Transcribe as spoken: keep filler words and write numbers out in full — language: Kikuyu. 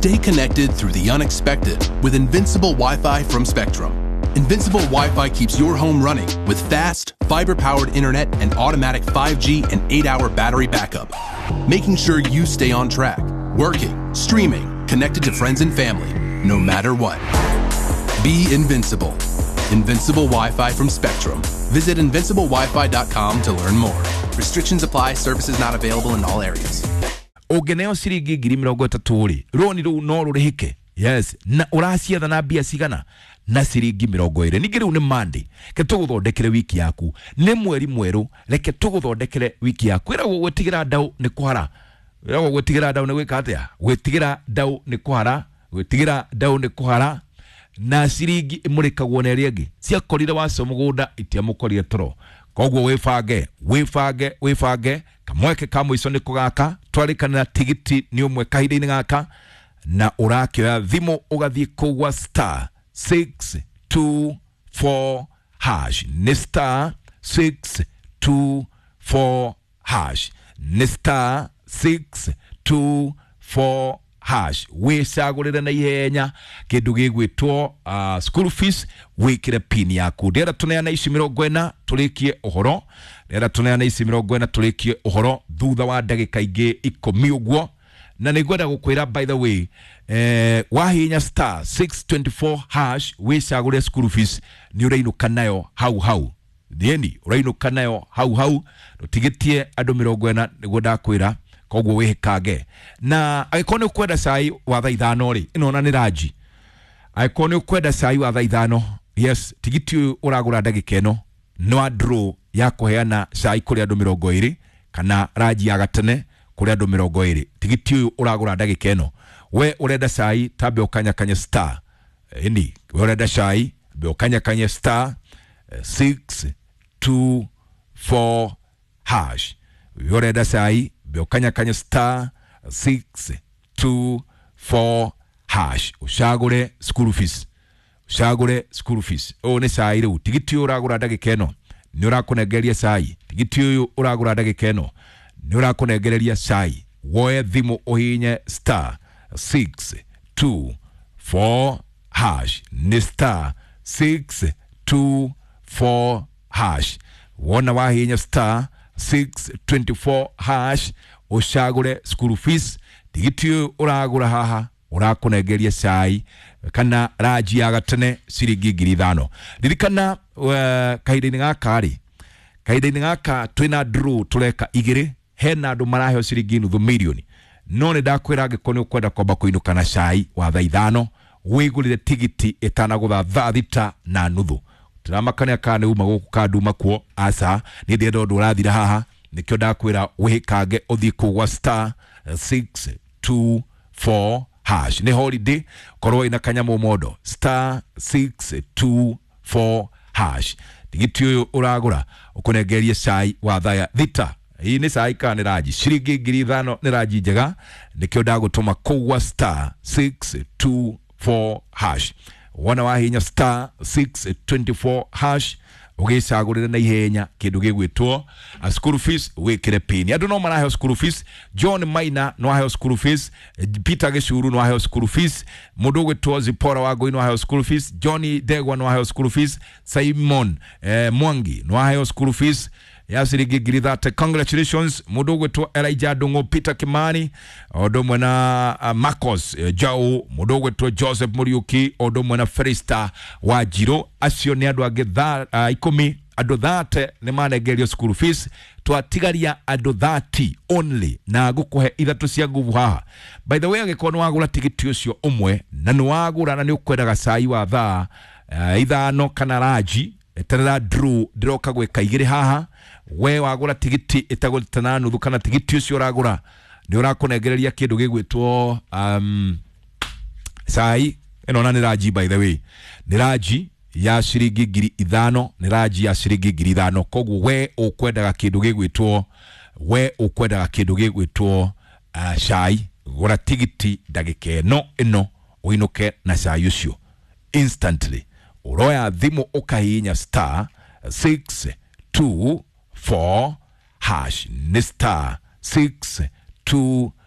Stay connected through the unexpected with Invincible Wi-Fi from Spectrum. Invincible Wi-Fi keeps your home running with fast, fiber-powered internet and automatic five G and eight-hour battery backup, making sure you stay on track, working, streaming, connected to friends and family, no matter what. Be invincible. Invincible Wi-Fi from Spectrum. Visit invincible wifi dot com to learn more. Restrictions apply. Services not available in all areas. Ũngĩneo ciringi ngiri mĩrongo ĩtatũ rĩ, rũni rũu no rũrĩhĩke. Yes, na ũracietha na mbia cigana? Na ciringi mĩrongo ĩrĩ. Ningĩ rĩu nĩ Monday, reke tũgũthondekere wiki yaku. Nĩ mweri mwerũ, reke tũgũthondekere wiki yaku. Ĩragwo gwĩtigĩra ndaũ nĩ kũhara. Ĩragwo gwĩtigĩra ndaũ nĩ gwĩka atĩa? Gwĩtigĩra ndaũ nĩ kũhara. Gwĩtigĩra ndaũ nĩ kũhara. Na ciringi ĩmũrĩkagwo na ĩrĩa ĩngĩ. Ciakorire wacio mũgũnda, itiamũkorire toro. Koguo wĩbange, wĩbange, wĩbange. Kamweke ka mũico nĩ kũgaka, twarĩkanĩra tigiti nĩ ũmwe kahinda-inĩ gaka, na ũrakĩoya thimũ ũgathiĩ kũgwa star six two four hash. Nĩ star six two four hash. Nĩ star six two four hash. Wĩcagũrĩre na ihenya kĩndũ gĩgwĩtwo, uh, school fees, wĩkĩre pin yaku. Ndĩrenda tũneane ici mĩrongo ĩna tũrĩkie ũhoro. Ndĩrenda tũneane ici mĩrongo ĩna tũrĩkie ũhoro thutha wa ndagĩka ingĩ ikũmi ũguo. Na nĩngwenda gũkwĩra by the way, eh, wahihinya star six twenty-four hash wĩcagũre school fees nĩ ũrainũka nayo hau hau. Thiĩni ũrainũka nayo hau hau, ndũtigĩtie andũ mĩrongo ĩna nĩguo ndakwĩra. Koguo wĩhĩkange. Na angĩkorwo nĩ ũkwenda cai wa thaa ithano rĩ, ĩno ona nĩ ranji. Angĩkorwo nĩ ũkwenda cai wa thaa ithano, yes, tigiti ũyũ ũragũra ndagĩka ĩno nĩ wa draw ya kũheana cai kũrĩ andũ mĩrongo ĩrĩ kana ranji ya gatene kũrĩ andũ mĩrongo ĩrĩ. Tigiti ũyũ ũragũra ndagĩka ĩno. We ũrenda cai, tambe ũkanyakanye star. Ĩni, we ũrenda cai, ambe ũkanyakanye star six two four hash. We ũrenda cai, ambe ũkanyakanye star six two four hash. Ũcagũre school fees. Ũcagũre school fees. Ũyũ nĩ cai rĩu. Tigiti ũyũ ũragũra ndagĩka ĩno nĩ ũrakũnengereria cai. Tigiti ũyũ ũragũra ndagĩka ĩno nĩ ũrakũnengereria cai. Woe thimũ ũhihinye star six two four hash. Nĩ star six two four hash. Wona wahihinya star six twenty-four hash ũcagũre school fees. Tigiti ũyũ ũragũra haha ũrakũnengeria cai kana ranji ya gatene ciringi ngiri ithano. Ririkana, uh, kahinda-inĩ gaka rĩ, kahinda-inĩ gaka twĩna draw tũreka igĩrĩ, hena andũ maraheo ciringi nuthu mirioni. No nĩ ndakwĩra angĩkorwo nĩ ũkwenda kwamba kũinũka na cai wa thaa ithano, wĩgũrĩre tigiti ĩtanagũtha thaa thita na nuthu. Tũramakania kana nĩ uma gũkũ kana nduma kuo, aca, niĩ ndĩrenda ũndũ ũrathira haha, nĩkĩo ndakwĩra wĩhĩkange ũthiĩ kũgwa star six two four hash. Nĩ holiday, korwo ĩna kanyamũ mondo, star six two four hash. Tigiti ũyũ ũragũra ũkũnengerie cai wa thaa thita. Hii nĩ cai kana nĩ ranji? Ciringi ngiri ithano nĩ ranji njega, nĩkĩo ndagũtũma kũgwa star six two four hash. Wona wahihinya star six twenty-four hash ũgĩcagũrĩre na ihenya kĩndũ gĩgwĩtwo school fees, wĩkĩre pin. Andũ no maraheo school fees. John Maina no aheo school fees, Peter Gĩcuru no aheo school fees, mũndũ ũgwĩtwo Zipporah Wangũi no aheo school fees, Johnny Ndegwa no aheo school fees, Simon, eh, Mwangi no aheo school fees ya ciringi ngiri thate. Congratulations mũndũ ũgwĩtwo Elijah Ndung'u, Peter Kimani, o ũndũ ũmwe na, uh, Marcos, eh, Jau, mũndũ ũgwĩtwo Joseph Muriuki, o ũndũ ũmwe na Felista Wanjirũ. Acio nĩ andũ angĩ thaa, uh, ikũmi, andũ thate nĩ manengerio school fees. Twatigaria andũ thirty only, na ngũkũhe ithatũ cia nguvu haha. By the way, angĩkorwo nĩ wagũra tigiti ũcio ũmwe na nĩ wagũra na nĩ ũkwendaga cai wa thaa, uh, ithano kana ranji, eterera draw ndĩroka gwĩka igĩrĩ haha. We wagũra tigiti ĩtagũrĩte na nuthu kana tigiti ũcio ũragũra nĩ ũrakũnengereria kĩndũ gĩgwĩtwo, um, cai. Ĩno na nĩ ranji, by the way, nĩ ranji ya ciringi ngiri ithano, nĩ ranji ya ciringi ngiri ithano. Koguo we ũkwendaga kĩndũ gĩgwĩtwo, we ũkwendaga kĩndũ gĩgwĩtwo, uh, cai, gũra tigiti ndagĩka ĩno ĩno ũinũke na cai ũcio instantly. Ũroya thimũ ũkahihinya star six two four hash. Nĩ star six two